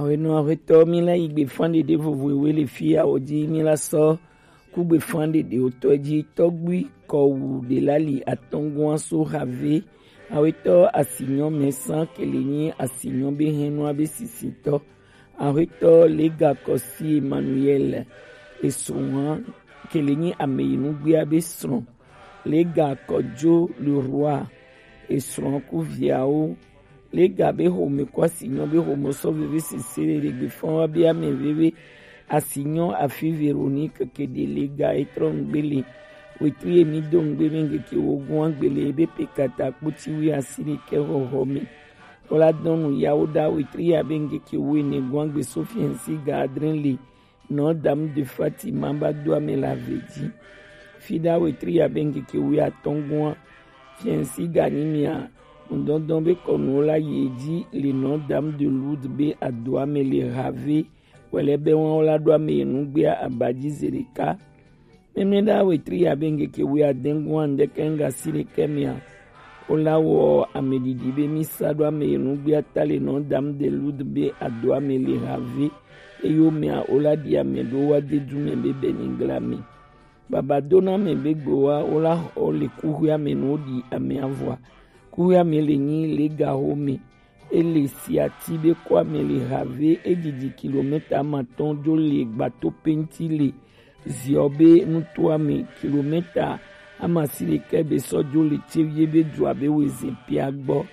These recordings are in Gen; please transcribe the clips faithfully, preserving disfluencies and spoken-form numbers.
Awenɔ Ahuetɔ, mi la yi gbe fan ɖeɖe vovo ewe le fi ya o ji, mi la sɔ kugbe fan ɖeɖe o tɔ ji. Tɔgbui kɔwu ɖe la li atɔngua so have. Ahuetɔ Asinyɔ Mɛsan kele nyi Asinyɔ be hɛnua be sisitɔ. Ahuetɔ Lega Kɔsi Emmanuel esrɔ̃a kele nyi Ameyinugbea be srɔ̃. Lega Kɔjo Leroy esrɔ̃a ku viawo. Lega be home ku Asinyɔ be home sɔ veve sese le ɖegbe fɔn wa be ame veve. Asinyɔ afi Véronique kede Lega etrɔ ŋgbele. Wetri emi do ŋgbe be ŋgeke wo gua gbele ebe pe kata kpoti wi asi ɖekɛ hɔhɔ me. Wala dɔnu yawo ɖa wetri ya be ŋgeke wo ene gua gbe so fiɛnsi ga adre le. Nɔ dam de Fatima ba do ame la ve ji. Fi ɖa wetri ya be ŋgeke wo atɔngua fiɛnsi ga ni mia. Ŋdɔndɔn be kɔnu la ye ji le nɔ dam de Lourdes be ado ame le have. Wɛlɛ be wan wala do ame ye nugbea abaji ze ɖeka. Mɛmɛ ɖa wetri ya be ŋgeke wo adengua ŋdɛkɛ ŋga si ɖekɛ mia. Wola wɔ ame ɖiɖi be mi sa ɖo ame ye nugbea ta le nɔ dam de Lourdes be ado ame le have. Eyo mea wola ɖi ame ɖo wa de du me be bɛ ni gla me. Baba dona me be gbo wa wola xɔ le kuxuia me no ɖi ame avɔa. Kuxuia me le nyi le ga ho me. Ele siati be kɔ ame le have, edidi kilomita amatɔn jo le gbato penti le ziɔ be nutoa me kilomita amasi ɖekɛ be sɔ jo le tevie be dua be weze pia gbɔ.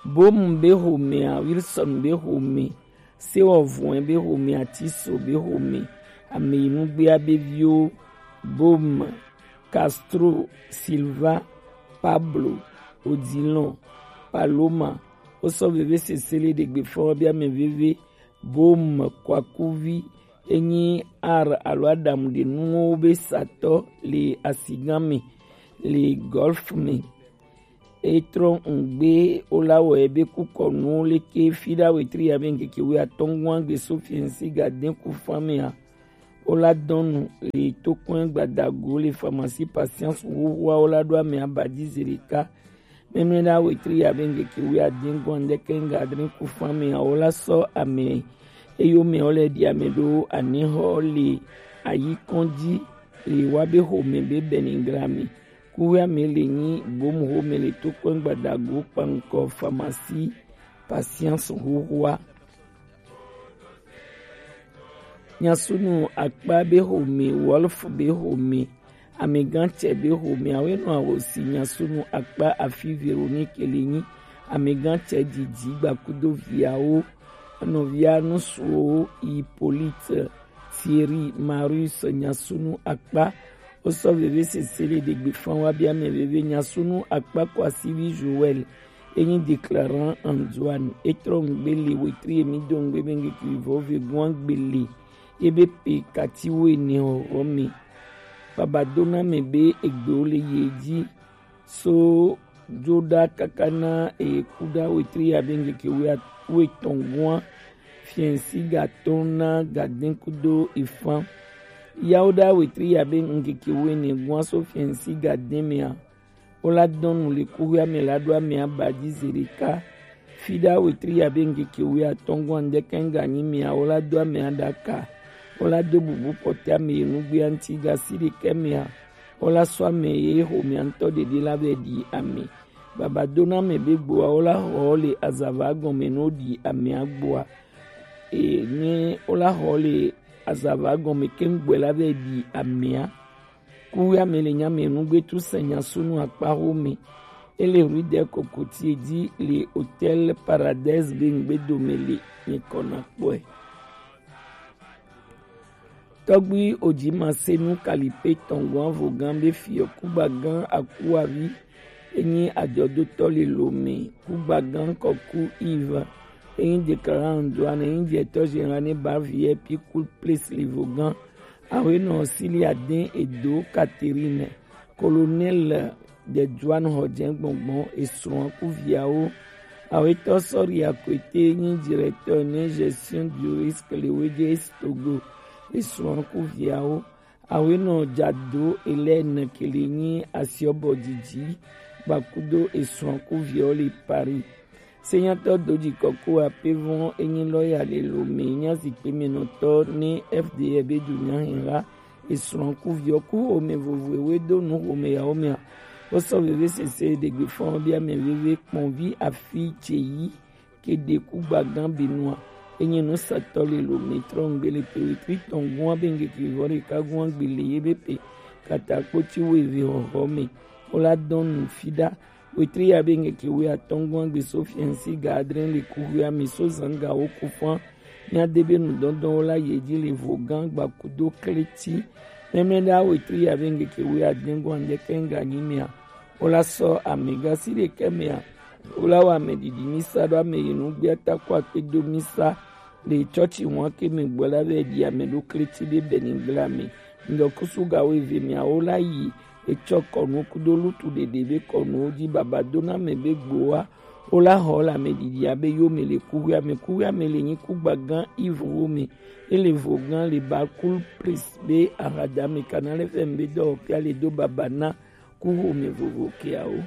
Bom be homea, Wilson be home, Sewɔvɔe be home, Atiso be home, Ameyinugbea be viwo, Bom, Castro, Silva, Pablo, Odilon, Paloma, wosɔ veve sese le ɖegbe fɔ be ame veve, Bom, Kwakuvi, enyi ar alo aɖamu ɖe nuwo be satɔ le asigã me le Golf me. Etrɔ ŋgbe wola wɔ ebe kukɔnuwo leke fi ɖa wetri ya be ŋkeke wi atɔngua gbe so fiɛnsi ga de ku fan mea. Wola dɔnu le tokɔn gbadago le pharmacie Patience huhua wola ɖo ame abaji ze ɖeka. Mɛmɛ ɖa wetri ya be ŋkeke wi adingua ŋdɛkɛ ŋga adre ku fan mea wola sɔ ame eyo me wole ɖi ame ɖo anihɔ le ayikɔn ji le wa be home be Benigrami. Kuwia me le nyi Bom home le tokpɛn gbadago kpankɔ pharmacie Patience huhua. Nyasunu akpa be home, Wolf be home, amegã cɛ be home, awe nɔ awo si nyasunu akpa afi Véronique le nyi, amegã cɛ didi gbakudo viawo, nɔvia nusuwo Hippolyte, Thierry, Marius, nyasunu akpa. Wosɔ veve sese le ɖegbe fan wa bia mɛ veve nyasunu akpa kɔ asivi Joël. Enyi déclarant Antoine. Etrɔ ŋgbe le wetri emi do ŋgbe be ŋgeke vɔ ve gua gbele. Ebe pe kati wo ene ɔrɔ me. Baba dona me be egbewo le ye ji. So jo ɖa kaka na ekuɖa wetri ya be ŋkeke wetɔn gua fiɛnsi ga tɔn na gaden kudo ifan. Yawo ɖa wetri ya be ŋkeke wene gua so fiɛnsi gaden mea. Wola dɔnu le kuxia me la ɖo ame aba ji ze ɖeka. Fi ɖa wetri ya be ŋkeke wi atɔn gua ŋdɛkɛ ŋga nyi mea, wola do ame aɖaka. Wola do bubu pɔtɛ ame ye nugbea ŋti ga si ɖekɛ mea. Wola sɔ ame ye xomea ŋtɔ ɖeɖe la be ɖi ame. Baba dona ame be gboa wola xɔ le azava gɔme no ɖi amea gboa. E nye wola xɔ le azava gɔme ke ŋgbɔe la be ɖi amea. Kuwia me le nya me nugbe tu se nya sunu akpa xo me. Ele rue de kokoti ji le Hôtel Paradise be ŋgbe dome le nyikɔ na kpɔe. Tɔgbi Ojimasenu Kalipe tɔngɔn avogan be fiɔ kugbagan Akuavi enyi ajɔdotɔ le Lome, kugbagan kɔku Yves enyi déclarant Antoine enyi directeur général ne ba V I P Cool Place le vogan. Awenɔ Sili Aden Edo Catherine, Colonel de Joan Hodjen Gbɔngbɔn esrɔ̃ ku viawo. Awetɔ Sɔri Akwete nyi directeur ne gestion du risque le Wedjes Togo esrɔ̃ ku viawo. Awenɔ Jado Hélène kele nyi asiɔbɔ didi gbakudo esrɔ̃ ku viawo le Paris. Senyatɔ doji kɔkɔ apevɔn enyi lɔya le Lome nya zikpe me nɔtɔ ne F D R be du nya hɛn la. Esrɔn ku viɔ ku home vovo ewe do nu home yawo mea. Wosɔ veve sese ɖegbe fɔn bia mɛ veve kpɔn vi afi ce yi ke ɖe ku gbagan binua. Enyi nu satɔ le Lome trɔngbe le pe wetri tɔn gua be ŋgeke vɔ ɖeka gua gbe le ye be pe kata kpoti wo eve hɔhɔ me. Wo la dɔn nu fi ɖa. Wetri ya be ŋgeke we atɔn gua gbe so fiɛnsi ga adre le kuhua mi so zanga wo ku fã. Mia de be nu dɔndɔn wo la ye ji le vo gan gba kudo kleti. Mɛmɛ ɖa wetri ya be ŋgeke we adre gua ŋdeke ŋga nyi mea. Wo la sɔ amega si ɖeke mea. Wo la wa ame ɖiɖi mi sa ɖo ame yi nu gbia ta ko akpe do mi sa. Le tsɔtsi ŋua ke me gbɔ la be ɖi ame ɖo kleti ɖe be ni gbla me. Ŋdɔ kusu ga wo eve mea wo la yi etsɔ kɔnu kudo lutu ɖeɖe be kɔnuwo dzi baba do na me be gboa. Wo la hɔ le ame ɖiɖi abe yo me le kuhua me kuhua me le nyi ku gbagan ivu wo me. Ele vo gan le ba kul plis be ahada me kana le fɛn be dɔ pia le do baba na ku home vovo keawo.